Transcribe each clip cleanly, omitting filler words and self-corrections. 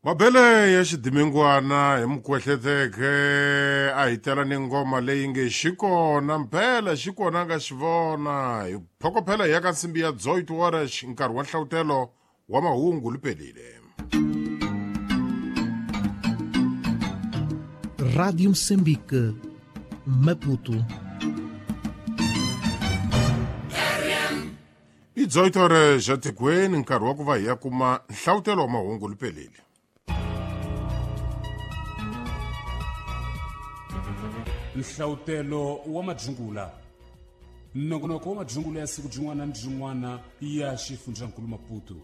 Mabele ya xidimingwana hi mukwehleteke a hi tela ni ngoma leyi nge xikona mpela xikona nga xi vona hi phokophela hi ya ka nsimbi ya 8 horas nkarhi wa nhlawutelo wa mahungu lipelile. Rádio Moçambique, Maputo. I 8 horas ja tikweni nkarhi wa ku va hi ya kuma nhlawutelo wa mahungu lipelile. Nhlawutelo wa madzungula. Nongonoko wa madzungula ya siku byin'wana ni byin'wana ya xifundzankulu Maputo.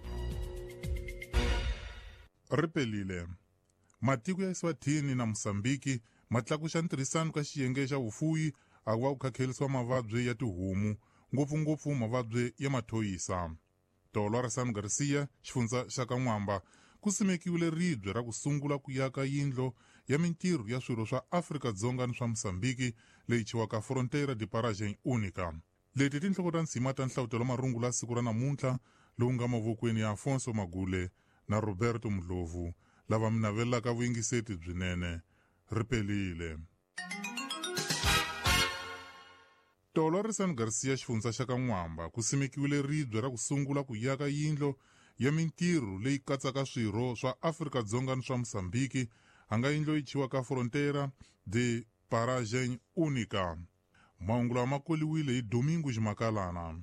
Ripelile. Matiko ya Eswatini na Mosambiki ma tlakuxa ntirhisano ka xiyenge xa vufuwi a ku va ku khakhelisiwa mavabyi ya tihomu, ngopfungopfu mavabyi ya mathoyisa. Tolo ra San Garcia, xifundza xa ka N'wamba, ku simekiwile ribye ra ku sungula ku yaka yindlo ya mintirho ya swirho swa Afrika-Dzonga ni swa Mosambiki leyi thyiwaka Fronteira de Paragem Única. Leti tinhloko ta nsima ta nhlawutelo marungula siku ra namuntlha lowu nga mavokweni ya Afonso Magule na Roberto Mdlovu lava mi navelelaka vuyingiseti byinene. Ripelile. Tolo ri San Garcia xifundza xa ka N'wamba ku simekiwile ribye ra ku sungula ku yaka yindlo ya mintirho leyi katsaka swirho swa Afrika-Dzonga ni swa Mosambiki a nga yindlo yi thyiwaka Fronteira de Paragem Única. Mahungu lawa ma koliwile hi Domingo Ximakalana.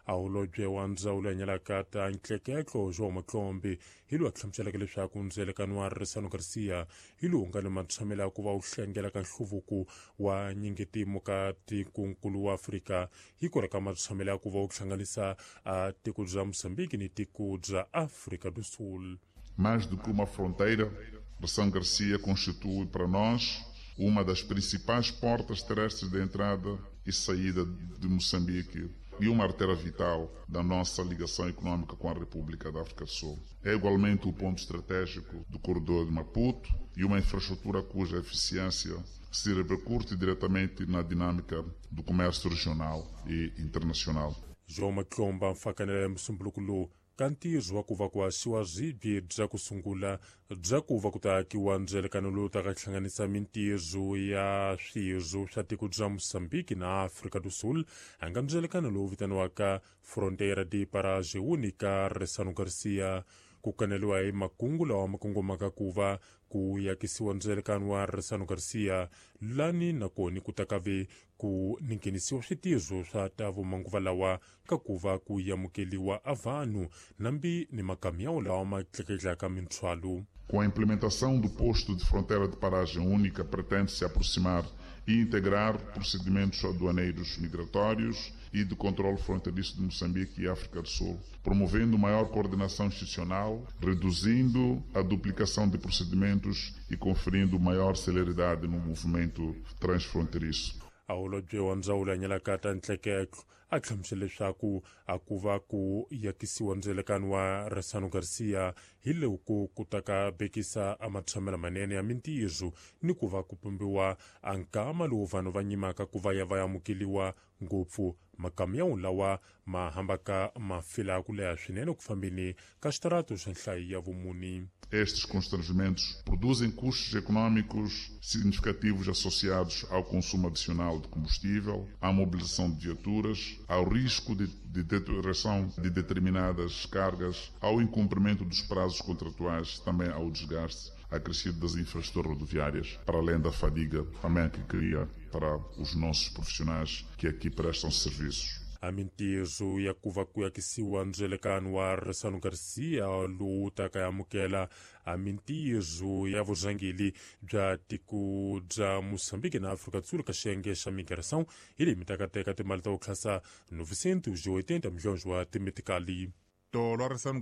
A holobye wa ndzawulo ya nyalaka ta ntleketlo João Matlombe hi lowu a hlamuseleke leswaku ndzelekano wa Risano Garcia hi lowu nga ni matshamelo ya ku va wu hlengela ka nhluvuko wa nyingitimo ka tikonkulu wa Afrika hi kona ka matshamelo ya ku va wu hlanganisa a tiko bya Mozambique ni tiko bya Afrika do Sul. Mais do que uma fronteira, Ressano Garcia constitui para nós uma das principais portas terrestres de entrada e saída de Moçambique e uma artéria vital da nossa ligação econômica com a República da África do Sul. É igualmente o ponto estratégico do corredor de Maputo e uma infraestrutura cuja eficiência se repercute diretamente na dinâmica do comércio regional e internacional. João Matlomba mfakanela musumbuluko lowu ka ntirho wa ku va ku haxiwa ribye bya ku sungula bya ku va ku ta akiwa ndzelekano lowu ta ka hlanganisa mintirho ya swirho swa tiko bya Mozambique na Afrika do Sul a nga ndzelekano lowu vitaniwaka Fronteira de Paragem Única Ressano Garcia. Ku kaneliwa hi makungu lawa ma kongomaka ku va ku yakisiwa ndzelekano wa Ressano Garcia lani nakoni ku ta ka ve ku ninghenisiwa switirho swa ta vumanguva lawa ka ku va ku amukeliwa a vanhu nambi ni makamyawu lawa ma tleketlaka minthwalo. Com a implementação do posto de fronteira de paragem única, pretende-se aproximar e integrar procedimentos aduaneiros migratórios e de controle fronteiriço de Moçambique e África do Sul, promovendo maior coordenação institucional, reduzindo a duplicação de procedimentos e conferindo maior celeridade no movimento transfronteiriço. A holobye wa ndzawulo ya nyalaka ta ntleketlo a hlamusela leswaku a ku va ku yakisiwa ndzelekano wa Ressano Garcia hi loko ku ta ka bekisa a matshamelo manene ya mintirho ni ku va ku pumbiwa a nkama lowu vanhu va nyimaka ku va ya va amukeliwa ngopfu makamyawu lawa ma hambaka ma fila ku leha swinene ku fambeni ka xitarato xa nhlayo ya vumuni. Estes constrangimentos produzem custos econômicos significativos associados ao consumo adicional de combustível, à mobilização de viaturas, ao risco de deterioração de determinadas cargas, ao incumprimento dos prazos contratuais, também ao desgaste acrescido das infraestruturas rodoviárias, para além da fadiga também que cria para os nossos profissionais que aqui prestam serviços. A mintirho ya ku va ku yakisiwa ndzelekano wa Ressano Garcia lowu ta ka amukela a mintirho ya vurhangeri bya tiko bya Mozambique na Afrika do Sul ka xiyenge xa migração hi leyi mi ta ka teka timali ta ku tlhasa 980 milhões wa timetikali. Tolo ra Ressano